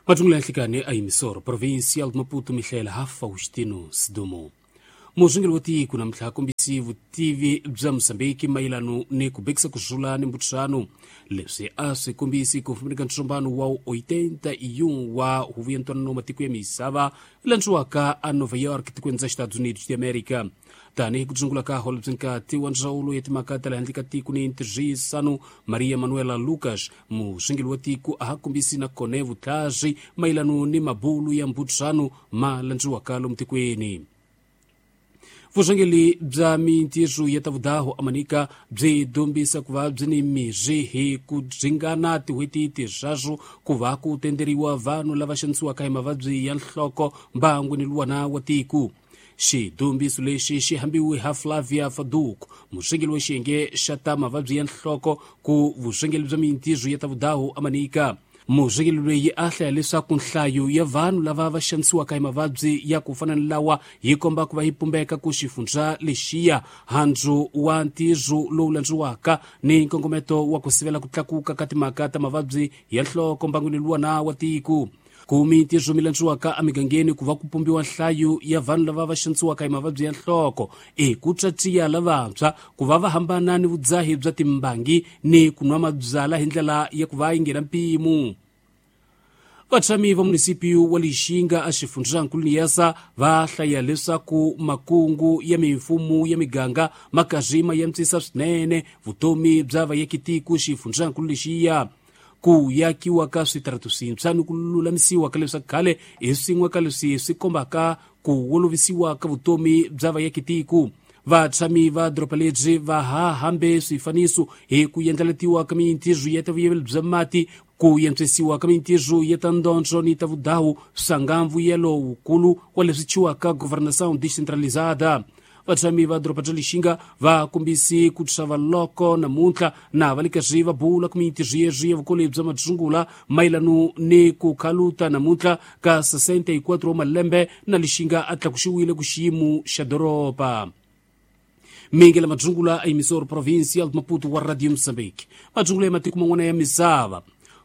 Matsungula ya nhlikani a yimisoro provincial de Maputo Michel ha Faustino Sidumo. Muzungeli wa tiko namuntlha kombisi vutivi bya Mozambiki mayelano ni ku bekisa ku rhula ni mbutisano. Leswi a swi kombisi ku fambeni ka ntsombano wa 81 wa huvo ya ntwanano wa matiko ya misava landziwaka a Nova York tikweni ra Estados Unidos de America. Tanihi ku sungula ka holobye nkati wa ndzawulo ya timhaka ta le handle ka tiko ni ntirhisano Maria Manuela Lucas, musunguli wa tiko a ha kombisi na kone vutlhari mayelano ni mabulu ya mbutisano ma landziwaka lomu tikweni. Vurhangeri bya mintirho ya ta vudaho amanika byi dombisa ku va byi ni mirhi hi ku ringana tin'hweti tinharhu ku va ku tenderiwa vanhu lava xanisiwaka hi mavabyi ya nhloko mbangwini luwana wa tiko. Xidombiso lexi xi hambiwe ha Flavia Faduk, murhangeri wa xiyenge xa ta mavabyi ya nhloko ku vurhangeri bya mintirho ya ta vudaho amanika. Murhangeri loyi a hlaya leswaku nhlayo ya vanhu lava va xanisiwaka hi mavabyi ya ku fana ni lawa yi komba ku va yi pumbeka ku xifundza lexiya handzu wa ntirho lowu landziwaka ni nkongometo wa ku sivela ku tlakuka ka timhaka ta mavabyi ya nhloko mbangwini luwana wa tiko. Ku mintirho mi landziwaka emigangeni ku va ku pumbiwa nhlayo ya vanhu lava va xanisiwaka hi mavabyi ya nhloko i ku tswatsiya lavantshwa ku va va hambana ni vudzahi bya timbangi ni ku nwa mabyala hi ndlela ya ku va yi nghena mpimo. Vatshami va munisipiyu wa Lixinga a xifundzankulu Niassa va hlaya leswaku makungu ya mimfumo ya miganga ma karhi ma antswisa swinene vutomi bya vaakitiko xifundzankulu lexiya. Ku yakiwa ka switaratu swintshwa ni ku lulamisiwa ka leswa khale hi swin'we ka leswi swi kombaka ku olovisiwa ka vutomi bya vaakitiko. Vatshami va doroba lebyi va ha hambe swifaniso hi ku endlaletiwa ka mintirho ya ta vuyeveli bya mati, ku antswisiwa ka mintirho ya ta ndondzo ni ta vudawu swa nga mbuyelo wukulu wa leswi thyiwaka governação descentralizada. Vatshami va doroba bya Lixinga va kombisi ku xava loko namuntlha na va le karhi va bula ku mintirho yeswi ya vukoli bya madzungula mayelano ni ku khaluta namuntlha ka 64 wa malembe na Lixinga a tlakuxiwile ku xiyimo xa doroba. Mingela madzungula a yimisoro provincial de Maputo wa Radio Mozambique. Madzungula ya matiko man'wana ya misava.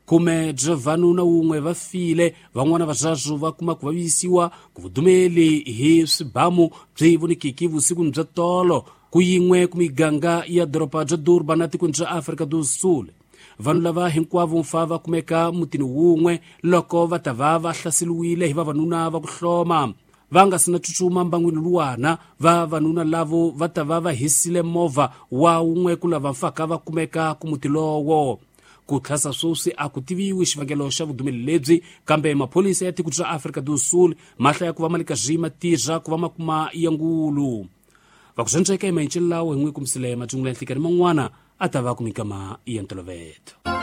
Khume bya vanhu na wun'we va file, van'wana vaswasu va kuma ku vavisiwa ku vudumeli hi swibamu byi vonekiki vusikwini bya tolo ku yin'we ku miganga ya doroba bya Durban na tikweni bya Afrika do Sul. Vanhu lava hinkwavo mfa va kumeka mutini wun'we loko va ta va va hlaseriwile hi vavanuna va ku hloma. Va nga si na tsutsuma mbangwini luwana, vavanuna lavo va ta va va hisile movha wa wun'we ku lava mfaka va kumeka ku muti lowo. Ku tlhasa sweswi a ku tiviwi xivangelo xa vudumeli lebyi, kambe maphorisa ya tiko ra Afrika do Sul ma hlaya ku va ma le karhi ma tirha ku va ma kuma ya ngulu. Va ku swandzeka hi mayincelo lawo hi n'wi kumisile matsungula ya nhlikani man'wana a ta va ku mikama ya ntolovelo.